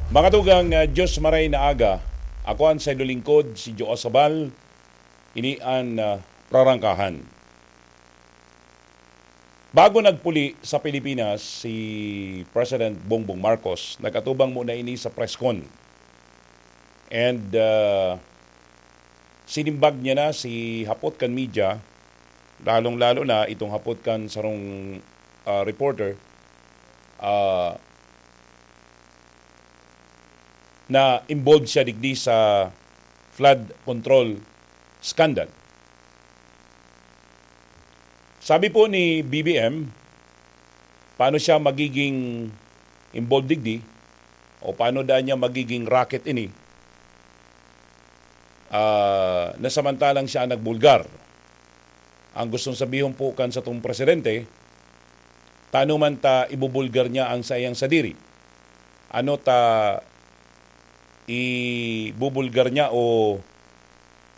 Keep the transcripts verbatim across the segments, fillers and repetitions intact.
Mga tugang, ah, Diyos maray na aga. Ako an saindong lingkod, si Joe Sabal. Ini an, ah, prarangkahan. Bago nagpuli sa Pilipinas si President Bongbong Marcos, nag-atubang muna ini sa press con. And, ah, sinimbag niya na si hapot kan media, lalong-lalo na itong hapot kan sarong, ah, reporter, ah, na involved siya digdi sa flood control scandal. Sabi po ni B B M, paano siya magiging involved digdi o paano daan niya magiging racket ini, ah, na samantalang siya ang nagbulgar? Ang gustong sabihon po kan satong presidente, tano man ta ibubulgar niya ang saiyang sadiri? Ano ta ibubulgar niya o,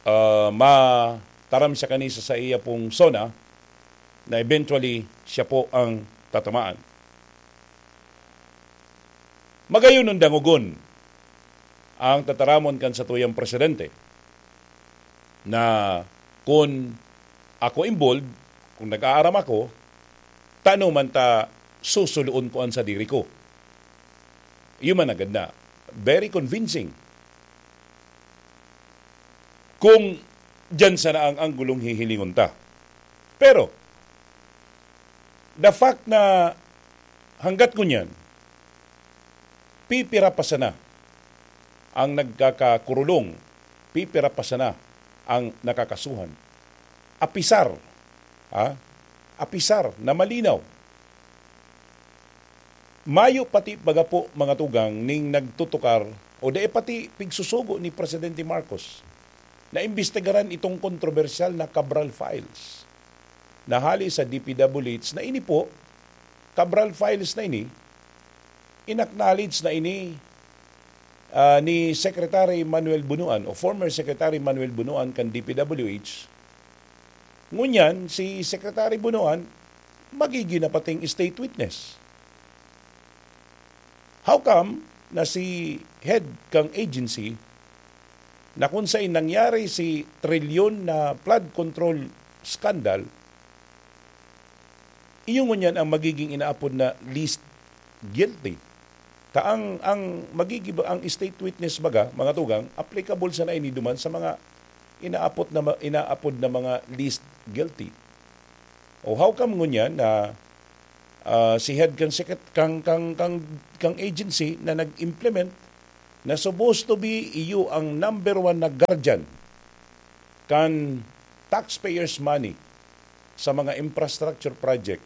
ah, mataram siya kani sa saiya pong zona na eventually siya po ang tatamaan? Magayon dangogon ang tataramon kan satuyang presidente na kun ako involved, kung nag-aaram ako, tano man ta susuloon ko an sadiri ko. Iyo man agad na. Very convincing. Kung diyan sana ang anggulong hihilingon ta. Pero, the fact na hanggat ngunyan, pipira pa sana ang nagkakakurulong, pipira pa sana ang nakakasuhan. Apisar, ha? Apisar na malinaw, mayo pati baga po, mga tugang, ning nagtutukar o dai pati pigsusugo ni Presidente Marcos na imbestigaran itong kontrobersyal na Cabral Files na hali sa D P W H na ini po, Cabral Files na ini, in-acknowledge na ini, ah, ni Secretary Manuel Bunuan o former Secretary Manuel Bunuan kan D P W H. Ngunyan, si Secretary Bunuan magiging na pating state witness. How come na si head kang agency na kung saan nangyari si trilyon na flood control scandal, iyo ngunyan ang magiging inaapod na least guilty? Ta ang, ang magiging, ang state witness baga, mga tugang, applicable sana ini duman sa mga inaapod na ma-, inaapod na mga least guilty. O how come ngunyan na, ah, si head kan secret-, kang, kang, kang, kang agency na nag-implement na supposed to be iyo ang number one na guardian kan taxpayers' money sa mga infrastructure project,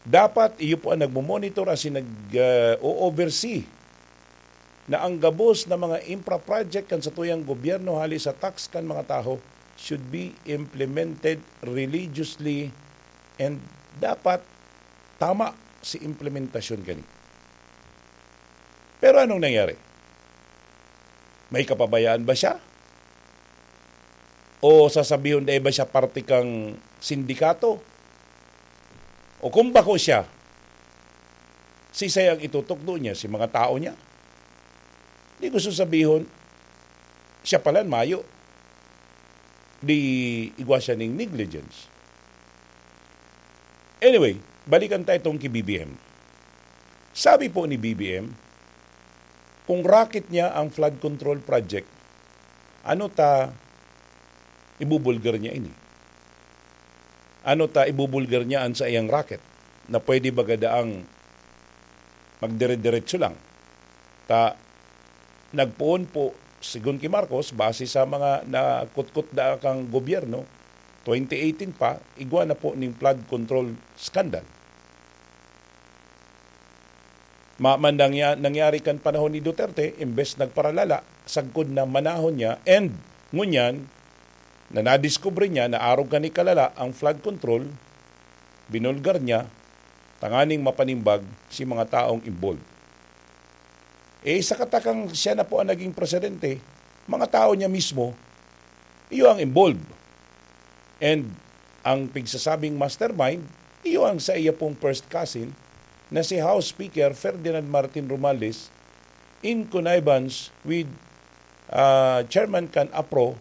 dapat iyo po ang nagmo-monitor asin nag, ah, o-oversee na ang gabos na mga infra project kan satuyang gobyerno hali sa tax kan mga tawo should be implemented religiously and dapat tama si implementasyon kani. Pero anong nangyari? May kapabayaan ba siya? O sasabihon, dai ba siya parte kang sindikato? O kung bako siya, sisay ang itutukdo niya? Si mga tao niya? Di gusto sabihon, siya pala mayo. Di igwa siya ning negligence. Anyway, balikan tayo itong ki B B M. Sabi po ni B B M, kung racket niya ang flood control project, ano ta ibubulgar niya ini? Ano ta ibubulgar niya an saiyang racket na pwede baga daang magdire-diretso lang? Ta nagpoon po, sigon ki Marcos, base sa mga nakutkot na kang gobyerno, twenty eighteen pa, igwa na po ning flood control scandal. Ma-, man nangya-, nangyari kan panahon ni Duterte, imbes nagparalala, sagkod na manahon niya, and ngunyan, na nadiskubre niya na arog kani kalala ang flood control, binulgar niya, tanganing mapanimbag si mga taong involved. Eh, sa katakang siya na po ang naging presidente, mga tao niya mismo, iyo ang involved. And ang pigsasabing mastermind, iyo ang sa iya pong first cousin na si House Speaker Ferdinand Martin Romualdez, in connivance with, ah, Chairman kan APRO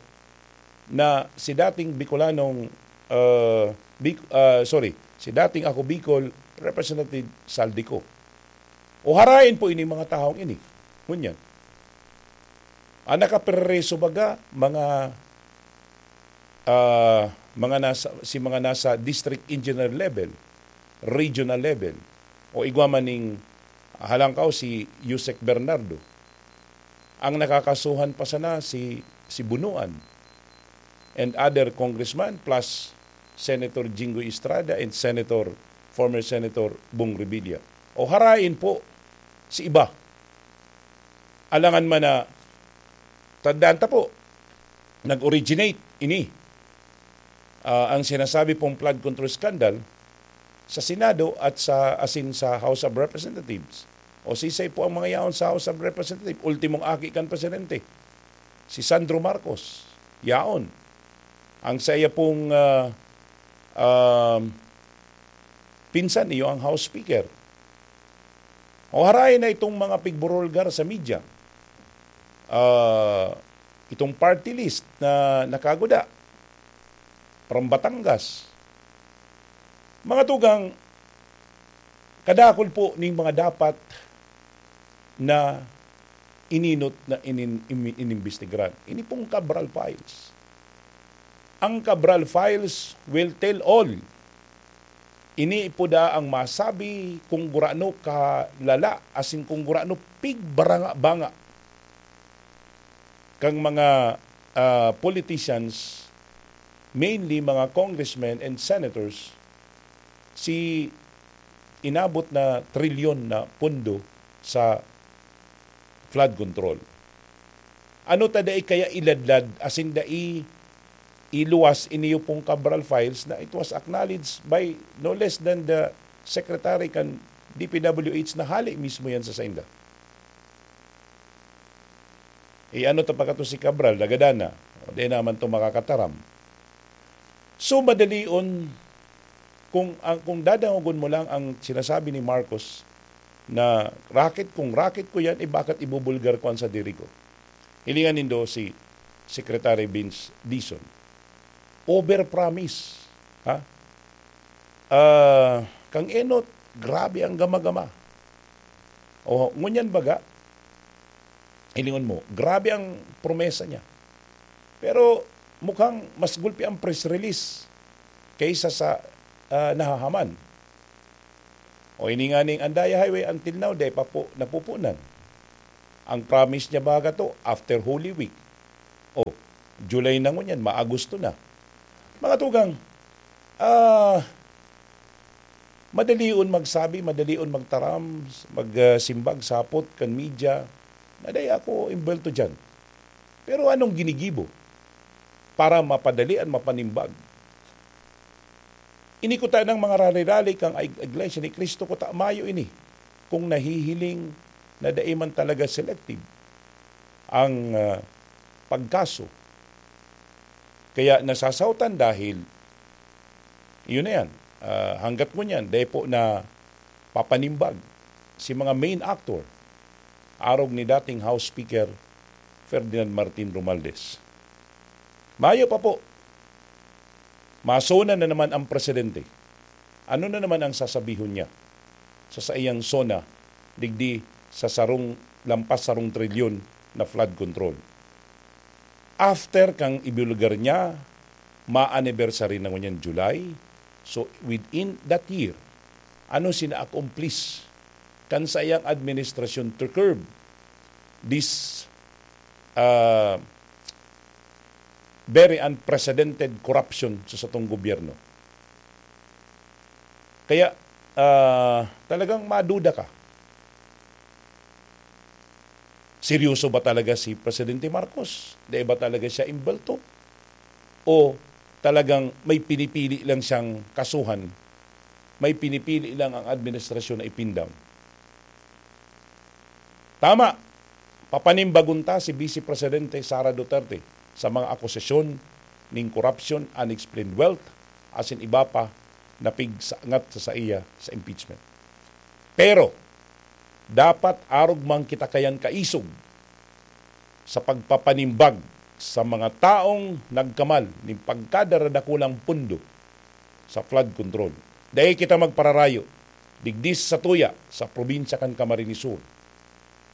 na si dating Bicolanong, ah, Bic-, ah, sorry, si dating Ako Bicol Representative Zaldy Co. O harain po ini mga tahong ini. Ngunyan, ang nakapreso baga, mga, ah, mga nasa, si mga nasa district engineer level, regional level, o igwa man ning halangkaw si Usec Bernardo. Ang nakakasuhan pa sana si, si Bunuan and other congressman plus Senator Jinggoy Estrada and Senator, former Senator Bong Revilla. O harain po si iba. Alangan man na, tandaan ta po, nag-originate ini, ah, ang sinasabi pong flood control scandal sa Senado at sa, asin sa House of Representatives. O sisay po ang mga yaon sa House of Representatives? Ultimong aki kan presidente, si Sandro Marcos. Yaon. Ang saiya pong, ah, um, pinsan, iyo ang House Speaker. O harain na itong mga pigburulgar sa media. Ah, itong party list na nakaguda from Batangas. Mga tugang, kadakul po ning mga dapat na ininot na inin-, imi-, inimbestigaran. Ini pong Cabral Files. Ang Cabral Files will tell all. Ini po daa ang masabi kung gurano kalala, asin kung gurano pigbaranga-banga kang mga, ah, politicians, mainly mga congressmen and senators, si inabot na trilyon na pondo sa flood control. Ano ta dai kaya iladlad, asin dai iluwas ini pong Cabral Files na it was acknowledged by no less than the secretary kan D P W H na hali mismo yan sa sainda? E, ano ta pa kato si Cabral, nagadan na. O, di naman to makakataram. So, madalion, kung, ang, kung dadangogon mo lang ang sinasabi ni Marcos na racket, kung racket ko yan, eh, bakit ibubulgar ko ang sadiri ko? Hilingan nindo si Secretary Vince Dizon. Overpromise, ha? Ah, kang enot, grabe ang gama-gama. O, ngunyan baga, hilingon mo, grabe ang promesa niya. Pero mukhang mas gulpi ang press release kaysa sa, ah, nahahaman. O, ini nga ning Andaya Highway, until now, dai pa po napupunan. Ang promise niya baga to, after Holy Week. O, July na ngunyan, ma-Agosto na. Mga tugang, ah, madalion magsabi, madalion magtaram, mag, ah, simbag, sapot kan media, na dai ako imbelto diyan. Pero anong ginigibo para mapadali an mapanimbag? Ini kuta nang mga rali-rali kan ig-, Iglesia ni Cristo, kuta mayo ini kung nahihiling na dai man talaga selective ang, ah, pagkaso. Kaya nasasaotan dahil, yun na yan, ah, hanggat ngunyan, dai po napapanimbag si mga main actor, arog ni dating House Speaker Ferdinand Martin Romualdez. Mayo pa po, masona na naman ang presidente. Ano na naman ang sasabihon niya sa saiyang sona digdi sa sarong, lampas sarong trilyon na flood control? After kang ibulgar niya, ma-anniversary na ngunyan July. So, within that year, ano sina-accomplish kan saiyang administrasyon to curb this, ah, very unprecedented corruption sa satong gobyerno? Kaya, ah, talagang maduda ka. Seryoso ba talaga si Presidente Marcos? Di ba talaga siya imbelto? O talagang may pinipili lang siyang kasuhan? May pinipili lang ang administrasyon na ipindang? Tama, papanimbagon ta si Vice Presidente Sara Duterte sa mga akusasyon ning korupsyon, unexplained wealth, asin iba pa na pigsangat sa saiya sa impeachment. Pero, Dapat arog man kita kayan kaisog sa pagpapanimbag sa mga taong nagkamal nin pagkadara dakulang pondo sa flood control. Dai kita magpararayo, digdi sa satuya, sa probinsya kan Camarines Sur,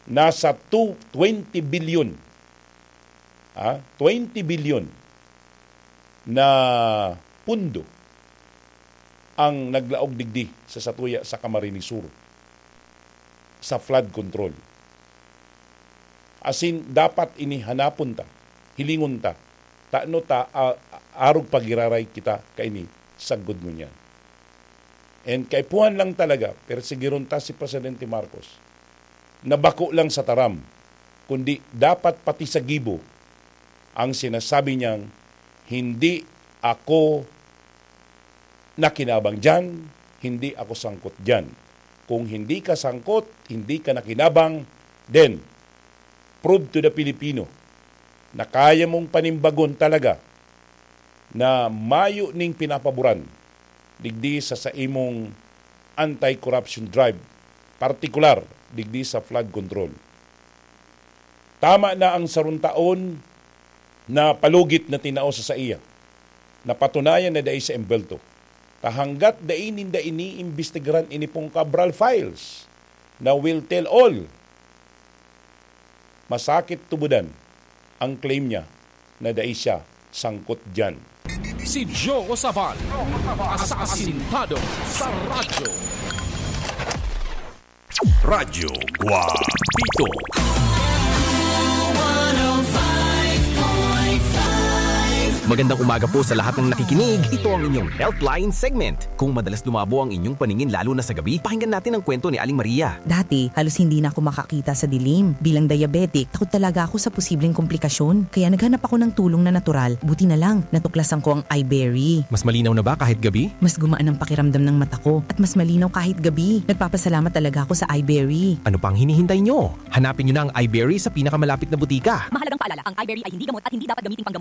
nasa two, twenty billion, ah, twenty billion na pondo ang naglaog digdi sa satuya sa Camarines Sur sa flood control. Asin, dapat ini hanapon ta, hilingon ta, tano ta, ah, arog pagiraray kita kaini sagkod ngunyan. And kaipuhan lang talaga, persigiron ta si Presidente Marcos, na bako lang sa taram, kundi dapat pati sa gibo ang sinasabi niyang, "Hindi ako nakinabang diyan, hindi ako sangkot diyan." Kung hindi ka sangkot, hindi ka nakinabang, then prove to the Filipino na kaya mong panimbagon talaga na mayo ning pinapaboran digdi sa, sa imong anti-corruption drive, partikular digdi sa flood control. Tama na ang sarong taon na palugit na tinao sa saiya, napatunayan na dai sa embelto. Ta hanggat dai ninda iniimbestigaran ini pong Cabral files na will tell all, masakit tubudan ang claim niya na dai siya sangkot diyan. Si Joe Sabal, asasintado sa radyo. Radyo Guapito. Magandang umaga po sa lahat ng nakikinig. Ito ang inyong Healthline segment. Kung madalas lumabo ang inyong paningin lalo na sa gabi, pakinggan natin ang kwento ni Aling Maria. Dati, halos hindi na ako makakita sa dilim. Bilang diabetic, takot talaga ako sa posibleng komplikasyon. Kaya naghanap ako ng tulong na natural. Buti na lang, natuklasan ko ang iBerry. Mas malinaw na ba kahit gabi? Mas gumaan ang pakiramdam ng mata ko at mas malinaw kahit gabi. Nagpapasalamat talaga ako sa iBerry. Ano pang hinihintay nyo? Hanapin nyo na ang iBerry sa pinakamalapit na butika. Mahalagang paalala, ang iBerry ay hindi gamot at hindi dapat gamiting panggamot.